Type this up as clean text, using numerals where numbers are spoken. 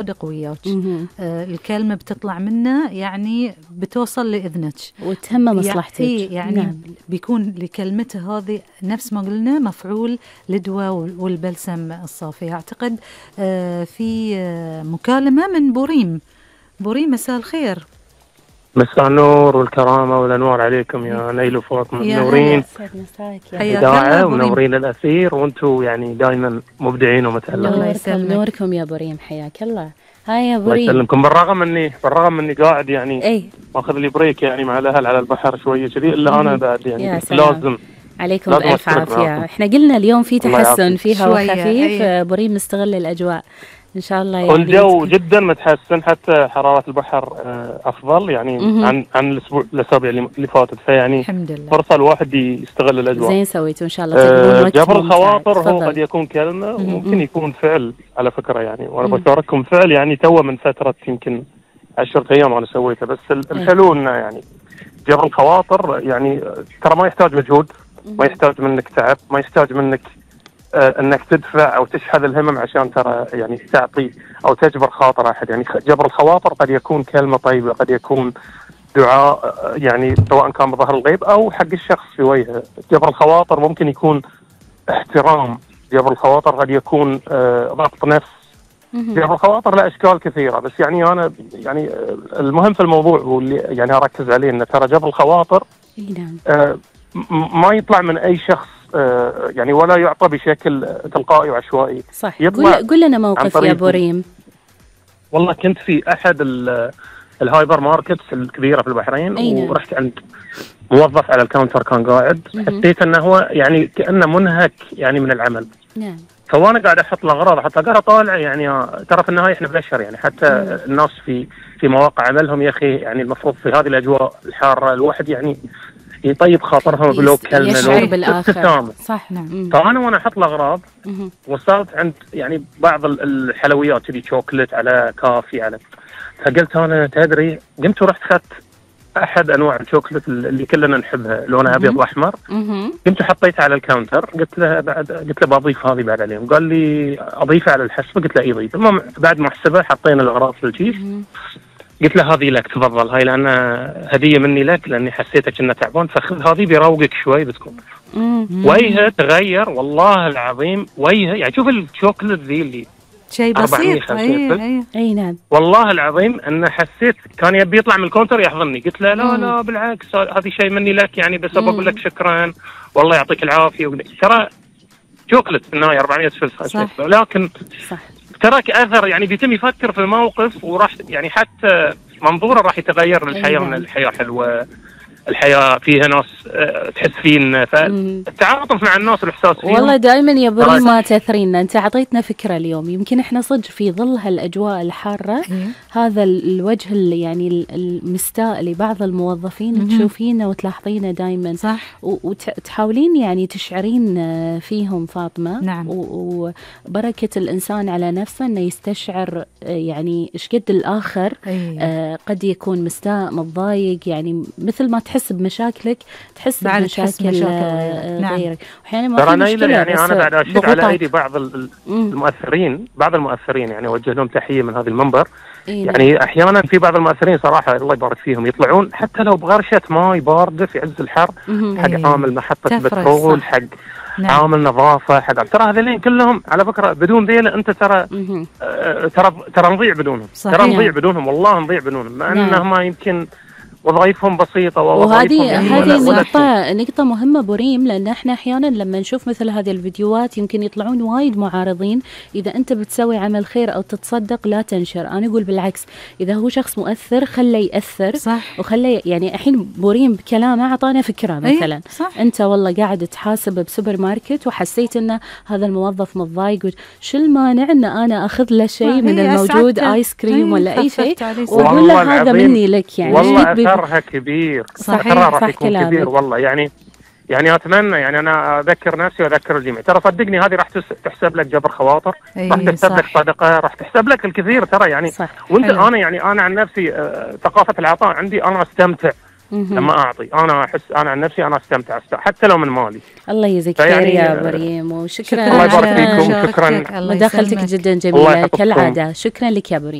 صادق وياك. الكلمة بتطلع منه يعني بتوصل لإذنك وتهم مصلحتك. يعني نعم. بيكون لكلمته هذه نفس ما قلنا مفعول الدواء والبلسم الصافي. أعتقد في مكالمة من بوريم. مساء الخير. مساء النور والكرامة والأنوار عليكم يا نيل وفاطمة، منورين إذاعة ومنورين الأثير، وأنتم يعني دائما مبدعين ومتألقين. نوركم يا بريم، حياك الله. هاي يا بريم. الله يسلمكم. بالرغم اني قاعد يعني ماخذ لي بريك يعني مع الأهل على البحر شوية كذي، إلا أنا بعد يعني لازم عليكم بألف عافية. احنا قلنا اليوم في تحسن، في هواء خفيف. بريم مستغل الأجواء إن شاء الله. يعني والجو جدا متحسن، حتى حرارة البحر أفضل يعني عن الأسابيع اللي فاتت، فيعني فرصة الواحد يستغل الأجواء. زين سويتوا إن شاء الله. جبر الخواطر هو قد يكون كلمة وممكن يكون فعل على فكرة يعني، وأنا بشارككم فعل يعني تو من فترة يمكن 10 أيام أنا سويته. بس الحلو إنه يعني جبر الخواطر يعني ترى ما يحتاج مجهود، ما يحتاج منك تعب، ما يحتاج منك انك تدفع او تشحذ الهمم عشان ترى يعني تعطي او تجبر خاطر احد. يعني جبر الخواطر قد يكون كلمه طيبه، قد يكون دعاء يعني سواء كان بظهر الغيب او حق الشخص في وجهه. جبر الخواطر ممكن يكون احترام، جبر الخواطر قد يكون ضبط نفس. جبر الخواطر له اشكال كثيره، بس يعني انا يعني المهم في الموضوع هو اللي يعني اركز عليه ان ترى جبر الخواطر ما يطلع من اي شخص يعني ولا يعطى بشكل تلقائي وعشوائي. صح. قل لنا موقف يا بريم. والله كنت في احد الهايبر ماركتس الكبيره في البحرين، ورحت عند موظف على الكاونتر كان قاعد، حسيت انه هو يعني كانه منهك يعني من العمل. نعم. فوانا قاعد احط له اغراض، طالع يعني ترى في النهايه احنا بشر يعني، حتى الناس في مواقع عملهم يا اخي يعني المفروض في هذه الاجواء الحاره الواحد يعني يطيب خاطرهم بلو كلمه يشعر بالآخر. صح. نعم. فأنا وأنا أحط الأغراض وصلت عند يعني بعض الحلويات كذي شوكلت على كافي على، فقلت أنا تدري، قمت ورحت أخذت أحد أنواع الشوكلت اللي كلنا نحبها لونها أبيض وأحمر، قمت وحطيتها على الكاونتر، قلت له بضيف هذه بعد عليهم، قال لي أضيفها على الحسبة، قلت له إيه ضيف. المهم بعد ما حسبها حطينا الأغراض في الكيس، قلت له هذه لك تفضل، هاي لأن هدية مني لك لأني حسيتك إنه تعبان، فخذ هذه بيروقك شوي بتكون. وجهه تغير والله العظيم، وجهه يعني شوف الشوكلت ذي اللي شيء بسيط. اي نعم. والله العظيم أنه حسيت كان يبي يطلع من الكونتر يحضني، قلت له لا بالعكس هذه شيء مني لك يعني، بس أقول لك شكرا والله يعطيك العافية. ترى شوكلت في النهاية 400 فلس، لكن صح تراك أثر يعني بيتم يفكر في الموقف، وراح يعني حتى منظوره راح يتغير للحياة. من الحياة حلوة، الحياة فيها ناس تحس فينا، فالتعاطف مع الناس والإحساس فيهم. والله دائما يا بريم ما تثرين، أنت أعطيتنا فكرة اليوم. يمكن إحنا صدق في ظل هالأجواء الحارة هذا الوجه اللي يعني المستاء لبعض الموظفين تشوفينه وتلاحظينه دائما. صح. وتحاولين يعني تشعرين فيهم فاطمة. نعم. وبركة الإنسان على نفسه أنه يستشعر يعني إيش قد الآخر قد يكون مستاء متضايق، يعني مثل ما تحس بمشاكلك تحس بمشاكل غيرك. وأحيانا ما في مشكلة يعني. أنا بعد أشير على أيدي بعض المؤثرين، يعني أوجه لهم تحية من هذا المنبر. يعني أحيانا في بعض المؤثرين صراحة الله يبارك فيهم يطلعون حتى لو بغرشة ماء باردة في عز الحر، حق عامل محطة بترول، حق عامل نظافة، حق ترى هذين كلهم على فكرة بدون ذيل أنت ترى نضيع بدونهم. ترى نضيع بدونهم، والله نضيع بدونهم، مع أنهم يمكن وظائفهم بسيطة وهذه نقطة مهمة بريم، لأن احنا أحيانا لما نشوف مثل هذه الفيديوهات يمكن يطلعون وايد معارضين. إذا أنت بتسوي عمل خير أو تتصدق لا تنشر. أنا أقول بالعكس، إذا هو شخص مؤثر خليه يأثر. صح. وخليه يعني الحين بريم بكلامه أعطانا فكرة مثلا. صح. أنت والله قاعد تحاسب بسوبر ماركت وحسيت أن هذا الموظف متضايق، شو المانع أن أنا أخذ له شيء من الموجود، آيس كريم ولا أي شيء، وأقول له هذا مني لك يعني. أثرها كبير. صحيح. راح يكون كبير والله يعني أتمنى يعني أنا أذكر نفسي وأذكر الجميع. ترى صدقني هذه راح تحسب لك جبر خواطر، راح تحسب لك صدقة، راح تحسب لك الكثير ترى يعني. وأنت أنا عن نفسي ثقافة العطاء عندي، أنا أستمتع لما اعطي انا احس انا عن نفسي انا استمتع حتى لو من مالي. الله يجزيك خير يا بريم، وشكرا. الله يبارك فيكم. شكرا، مداخلتك جدا جميله كالعاده. شكرا لك يا بريم.